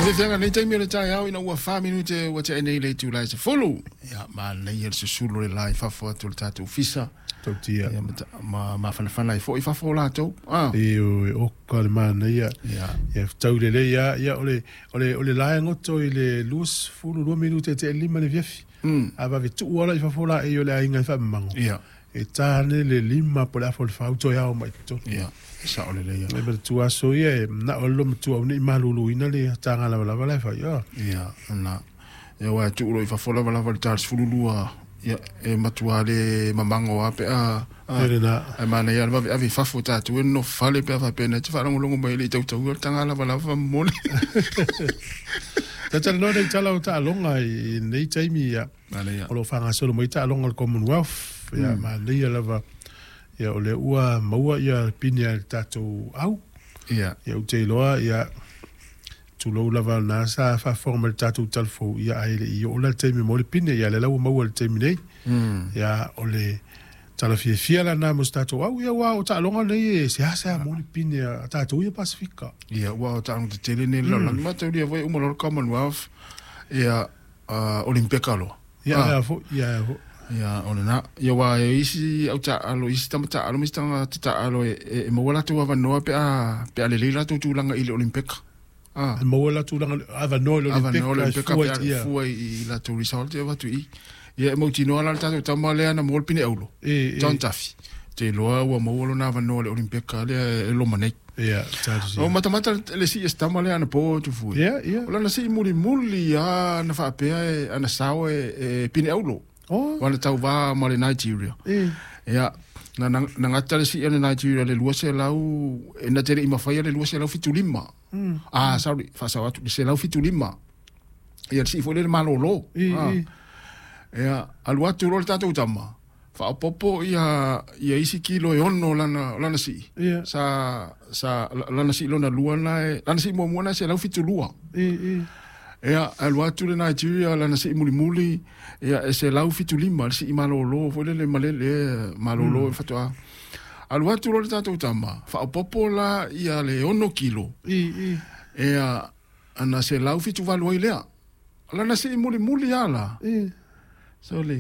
Fiafiaga nei taimi o le taeao ina ua 4 minute ua tea nei le itula e 10. Ia, manaia le susulu o le la i fafo atu o le tatou ofisa. Tautia. Ia, ma mafanafana ai foi i fafo o latou. Ah. E o e oka le manaia. Ia. Ia tau lelei lava ia o le la e goto i le 22 minute e tea 5 le afiafi. A vave tuu ala i fafo la e o le aiga i faamamago. E tāne le 5 po le afa o le 4 toe ao mai totonu. Ia, sao lelei. E ma tu aso ia e na o lo matua nei maluluina le tāngā lava lava la e fai. Oh. Ia, na. Ia wa tuu lo i fafo lava lava le tal 12. Ia, e matua le mamango a pe a. E le na. Ai mana ia vave ave i fafo tatou e no fale pe a faapena te faalogologo mai le i tautau o le taga lavalava momoli. Talanoa nei tala o taaloga i nei taimi ia. Manaia. O lo o faagasolo mai taaloga o le Commonwealth. Ia manaia lava. Ia o le ua maua ia pine a le tatou au. Ia ou te iloa ia tulou lava na sa faafofoga mai le tatou talafou ia ae le i oo la le taimi mo le pine ia le la ua maua le taimi nei. Ia o le tala fiafia lana mo se tatou au ia ua o taaloga nei e seasea mo le pine a tatou ia Pasifika. Ia, ua o taaloga tetele nei le lalolagi mataulia foi uma loa le Commonwealth, ia Olimpeka loa. Ia ia foi ia foi. Ia, o lena. Ia, ua e isi au taalo, isi tama taalo ma isi tagata taalo e maua latou avanoa pe a lelei latou tulaga i le Olimpeka. Ah. E maua la tulaga avanoa i le avanoa le Olimpeka Olimpeka fua pe a ia. Fua i latou result e avatu i. Ia, e mautinoa la le tatou tama lea na maua le pine aulo. John Duffy. Te iloa ua maua lona avanoa le Olimpeka lea e loma nei. Ia, tatou O matamata le sii e se tama lea anapo Tufue. Ia, ia. O lana sii mulimuli a na faapea e ana sao e pine aulo. Wana tauvā ma le Nigeria. Ia, na gata le sii a le Nigeria le 200, e na te le i mafaia le 275. Ah, sorry, faasao atu, le 175. Ia, le sii foi lea le malolo. Ah. Ia, alu atu loa le tatou tama, faaopoopo ia isi kilo e 6 lana sii. Sa lana sii lona lua na e, lana sii muamua na e 172. Ia, alu atu le Nigeria lana sii mulimuli, ia e 175 le sii malolo foi lele malele malolo e faatoa. Alu atu loa le tatou tama, faaopoopo la ia le 6 kilo. Ia, ana 178 ai lea. Lana sii mulimuli ala. Sole.